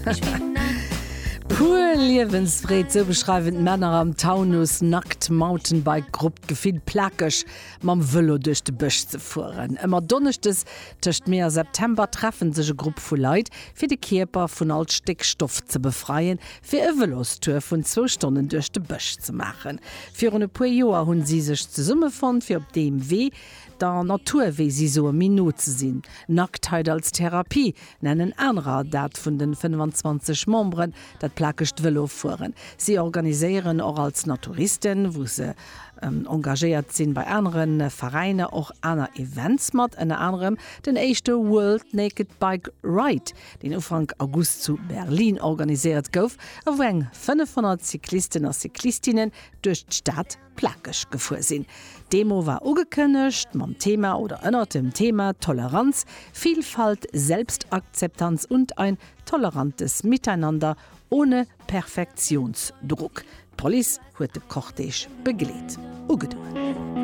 Pur Liewensfreed, sou beschreiwen d'Männer am Taunus Nackt Mountainbike Grupp d'Gefill plakeg mam Vëlo duerch de Bësch ze fueren. Ëmmer Donneschdes tëscht Mee a September treffen sech e Grupp vu Leit fir de Kierper vun all Stéckstoff ze befreien, fir e Vëlostour vun zwou Stonnen duerch de Bësch ze maachen. Virun e puer Joer hunn si sech zesummefonnt fir op deem Wee der Natur, wéi si soen, méi no ze sinn. Nacktheit als Therapie nennen anerer dat vun den 25 Memberen dat plakegt Vëlofueren. Si organiséieren och als Naturisten, wou se engagéiert sinn, bei anere Veräiner och aner Events mat, ënner anerem den éischte World Naked Bike Ride, deen Ufank August zu Berlin organiséiert gouf a wou eng 500 Cyclisten a Cyclistinnen duerch d'Stad plakeg gefuer sinn. D'Demo war ugekënnegt mam Thema oder ënnert dem Thema Toleranz, Vielfalt, Selbstakzeptanz und ein tolerantes Miteinander ohne Perfektionsdruck. D'Police huet de Cortège begleet. Ugedoen.